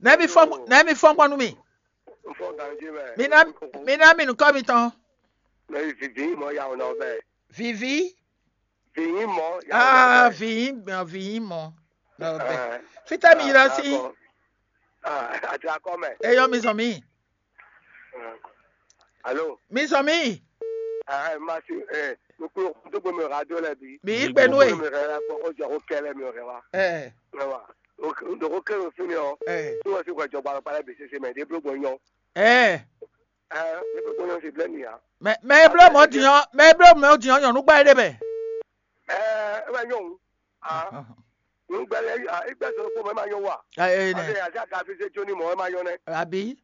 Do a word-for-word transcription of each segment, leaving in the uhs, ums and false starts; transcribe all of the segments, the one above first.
Nɛ̌ mi fɔ́n nɛ̌ mi fɔ́n gbɔn nú mì? N fɔ ganji mɛ. Mi ná mi ná mi nukɔ mitɔn. Mɛ vivi mɔ ya wɔ nɔ bɛ. Vivi. Vivi mɔ ya wɔ nɔ Ah, bɛ. Vivi mɔ. Lɔ bɛ. Fita mi yira si. Ati akɔ mɛ. Eyɔ mi zɔn mi. Alo. Mi zɔn mi. Ah, ma si eh nukun dogbo mi radio lɛ bi. Mi yi gbenu e. Mi rɛ la kpɔ o jɔ ko kɛlɛ mi rɛ wa. Eh. Rɛ wa. O do ko kɛlɛ o fini o. Eh. Tí wọ́n sì kọ́ ìjọba ọ̀pá lẹ́bi ṣẹṣẹ mẹ́ dé blógbó yan. Eh. Eh, dé blógbó yan sì blẹ́ nìyà. Mɛ mɛ eblo mɔ diyan mɛ eblo mɔ diyan yɔnu gba ede bɛ. Eh, ẹ bá yan o. Ah. N gbɛlɛ ah, igbe sɔrɔ kpɔ mɛ ma yɔ wa. Ayi Ade ne. Azi aka fi se tso ni mɔ ɛ ma yɔ nɛ. Abi.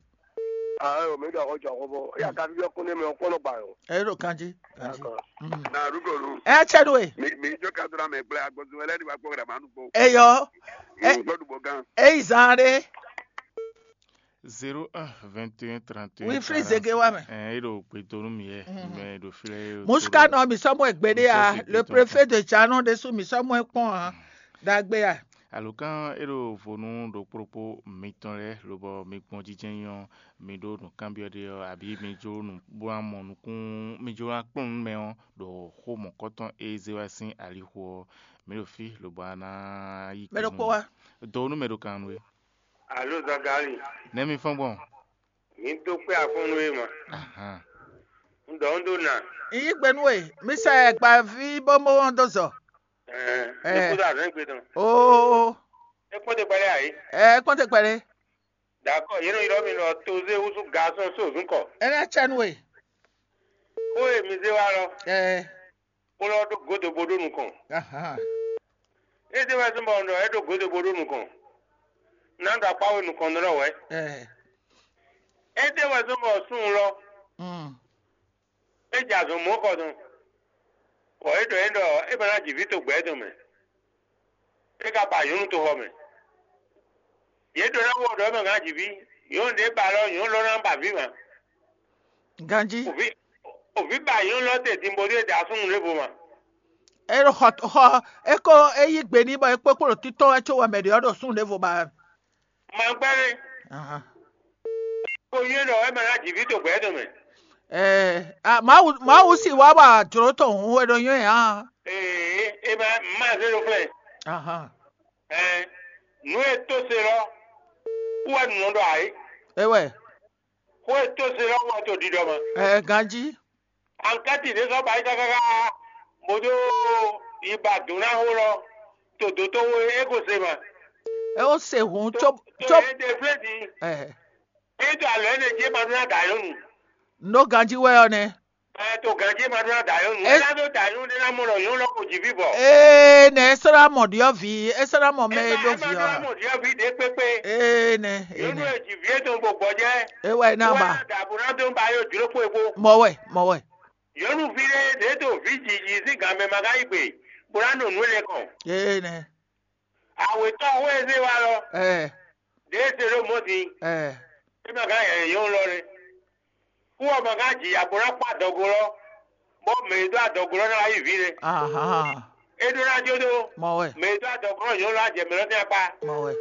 Ah, o mi dɔ ko jɔ ko bo. Ya ka fi yɔ kun ne mi o kɔnɔ gba yo. Ɛ ɖo kanji. Kanji. D'accord. Mm. Na rugolu. Ɛ tsɛ do e. Mi mi jo ka dra mɛ gblɛ agbɔzun wɛlɛ ni wa gbɔ gra ma nu gbɔ. Eyɔ. Ɛ gbɔ du bɔ gan. Eyi zan ɖe. Zéro un vingt et un trente et un. Wilfried Zege wa mɛ. Ɛ e ɖo gbe donu mi yɛ. Mɛ ɖo filɛ. Muska nɔ mi sɔmɔ egbe ɖe ya. Le préfet de Janon ɖesu mi sɔmɔ ekpɔn ha. Dagbe ya. Alokán e ɖo vo nú ɖokpóɖokpó mitɔn lɛ́ɛ lobɔ mi gbɔn jijɛ nyɔ mi ɖó nǔkanbyɔ́ ɖé ɔ́, abǐ mi jló nǔ bó ná mɔ nukún mi jló ná kplɔ́n nǔ mɛ ɔ́, ɖo xó mɔ̌kɔtɔn e zé wá sín alixo ɔ́, mi ɖo fí lobɔ a ná yí Mɛ ɖokpó wá. Do nú mɛ ɖo kan nú we. Alo Zagali, Nɛ̌ mi fɔ́n gbɔn? Mi dó kpé afɔ́nnu e ma. Ahan. Un ɖɔ un ɖó na. Yi gbe nú we, mi sɛ gbaví bó mɔ wɔn dó zɔ. Ɛɛ, Ɛɛ. Ní kúndà zɛn gbé tɔn. Oo, É kpɔ́n te kpɛlẹ́ ayé. Ɛ kpɔ́n te kpɛɖé. D'accord, yéno ylɔ́ mi lɔ tozé wúsú gasɔn só zún kɔ. É ná cɛ nú we. Xó e mi zé wá lɔ, Ɛ kplɔ́ ɖó godo bó ɖó nukɔn. Ahan. É zé wɛ zɔ́n bɔ un ɖɔ é ɖó godo bó ɖó nukɔn. Ná ɖo akpá we nukɔn ɖɔ wɛ. Ɛ É zé wɛ zɔ́n bɔ súnnu lɔ, Mm. É jɛ azɔn mɔ̌ kɔ tɔn, bɔ é ɖɔ é ɖɔ é ma ná ji vǐ to gbɛ̌ tɔn mɛ. É ka ba nyɔ̌nu toxɔ mɛ. Yě ɖɔ ná wɔ ɖɔ é ma ná ji vǐ. Nyɔ̌nu ɖě ba lɔ nyɔ̌nu lɔ ná ba vǐ ma. Ganjí. Òví òví ba nyɔ̌nu lɔ te din bó ɖé da súnnu ɖěvo ma. É ɖo xɔ xɔ é ko é yí gbe n'i bɔ é kpókpó ɖo títɔ́ wɛ có wɛ mɛ ɖě ɔ́ ɖo súnnu ɖěvo ba. Ma gbɛ́ nɛ́. Ahan. Ko nyɔ́ ɖɔ é ma ná ji vǐ to gbɛ̌ tɔn mɛ. Ɛɛ, a, Mawu Mawu si wá wa jlǒ tɔn hun wɛ ɖo nyɔ́ ɛ hã. Ee, é ma ma zé ɖo flɛ́. Ahan. Ɛɛ, nǔ e tó se lɔ, kú wɛ nǔ nɔ ɖɔ ayé. É wɛ. Xó e tó se lɔ wɔ to ɖiɖɔ mɛ. Ɛɛ, ganjí. Ankɛti ɖé sɔ́ ba yi káká bó dó yi ba dǔn ná xó lɔ to dǒ tó xó é ko se mɛ. É ó se hǔn Tó có tó có é ɖe flé din. Ɛɛ. É to alɔ énɛ́ jí é ma dó ná dǎ nyɔ́nu. Nǔ ɖó ganjí wɛ ɔ́ nɛ́. Ɛ to ganjí é ma dó ná dǎ nyɔ́nu. É ná dó dǎ nyɔ́nu ɖé ná mɔ ɖɔ nyɔ́nu lɔ ko jí vǐ bɔ. Ee nɛ é sɔ́ ná mɔ ɖyɔ́vǐ é sɔ́ ná mɔ mɛ e ɖó vǐ ɔ́. Mɔ ɖyɔ́vǐ ɖě kpékpé. Ee nɛ ee Nyɔ́nu nɛ. E jí vǐ etɔn bó gbɔjɛ́. É wɛ é ná ba. Dǎbò ná dó ba yó jló kpó e kpó. Mɔ wɛ mɔ wɛ. Nyɔ̌nuví ɖé ɖě ɖo vǐ jiji sín gan mɛ ma ka yí gbe bó ná ɖo nǔ énɛ́ kɔn. Ee nɛ. Awětɔ́ xó e zé wá lɔ, Ɛɛ ɖě e se ɖó mɔ̌ din, ɛɛ é ma ka hɛn nyɔ̌nu lɔ nɛ́. Kú ɔ́ ma ka ji ya bó ná kpó adɔgo lɔ, bɔ mɛ e dó adɔgo lɔ ná wá yí vǐ nɛ́. Ahan. É ɖó ná jó dó, Mɔ wɛ mɛ e dó adɔgo lɔ nyɔ̌nu lɔ á jɛ mɛ lɔ tɛ́n akpá. Mɔ wɛ.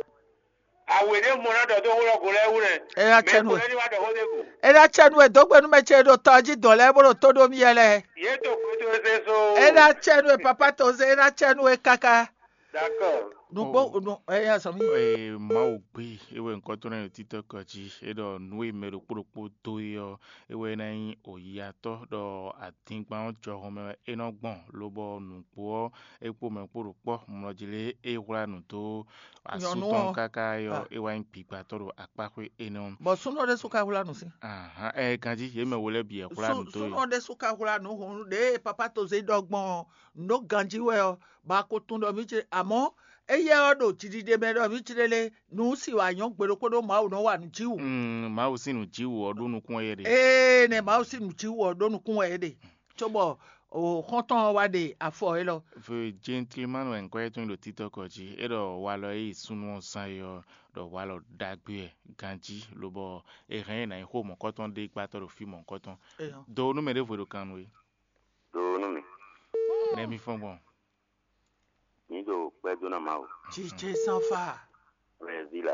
Awe ɖé mɔ ná ɖɔ dó xó lɔ go lɛ́ɛ wú nɛ́. É ná Mɛ cɛ nú ko we. Lɛ́ ní wá ɖɔ xó ɖé go. É ná cɛ nú we dó gbe nú mɛ ce ɖo tɔ jí dɔ̌n lɛ́ɛ bó ɖo tó ɖó mì yɛ lɛ́ɛ. Yě to kótó zé so. É ná cɛ nú we papa to zé é ná cɛ nú we káká. D'accord. Nukpó Oh. nu é yá sɔ mí. Ee, Mawu gbé é wɛ ŋkɔ tɔn lɛ́ɛ ɖo títɔ́ kɔ jí é ɖɔ nǔ e mɛ ɖokpó ɖokpó dó é ɔ́ é wɛ ná nyí oyiyatɔ́ ɖɔ adingban ɔ́ jɔhɔn mɛ wɛ é nɔ gbɔn lobɔ nǔgbó ɔ́ é kpó mɛ kpó ɖo kpɔ́ mlɔjí lé é hwlá nǔ dó asú Nyɔ̌nu tɔn ɔ́. Káká é ɔ́ Ah. É wá nyí gbigbatɔ́ ɖo akpáxwé énɛ́ ɔ́. Bɔ súnnu ɔ́ ɖésú ka hwlá nǔ sín. Ahan, ɛ ganjí yě mɛ wo lɛ́ɛ bǐ wɛ hwlá Sú- nǔ dó Súnnu yě. Ɔ́ ɖésú ka hwlá nǔ hǔn ɖěe papa toze ɖɔ gbɔn ɔ́, nǔ ɖó ganjí wɛ ɔ́, bɔ a ko tunwun ɖɔ mǐ ce amɔ̌ éyɛ́ ɔ́ ɖo jiɖiɖe mɛ ɖɔ mǐ ce lé nǔ si wǎ nyɔ́ gbe ɖokpó ɖó Mawu nɔ wa nǔ jí wǔ. Mm, Mawu sín nǔ jí wǔ ɔ́ ɖó nukún wɛ yě ɖe. Ee nɛ Mawu sín nǔ jí wǔ ɔ́ ɖó nukún wɛ é ɖe. Cóbɔ o xɔ́ntɔn ɔ́ wá ɖe afɔ élɔ́. Ve gentleman wɛ ŋkɔ́ yɛ́ tɔn ɖo títɔ́ kɔ jí é ɖɔ walɔ e yi súnnu ɔ́ zán é ɔ́ ɖɔ walɔ ɖagbe wɛ ganjí lobɔ è hɛn ɛ nǎ nyí xó mɔ̌kɔtɔn ɖé gbátɔ́ ɖo fí mɔ̌kɔtɔn. Eyɔ. Do nú mɛ ɖěvo e ɖo kan nú we. Do nú mì. Nɛ mi fɔ́n gbɔn. Mǐ ɖo kpɛ́ dó ná Mawu. Jijɛ sanfa. Wɛ ví la.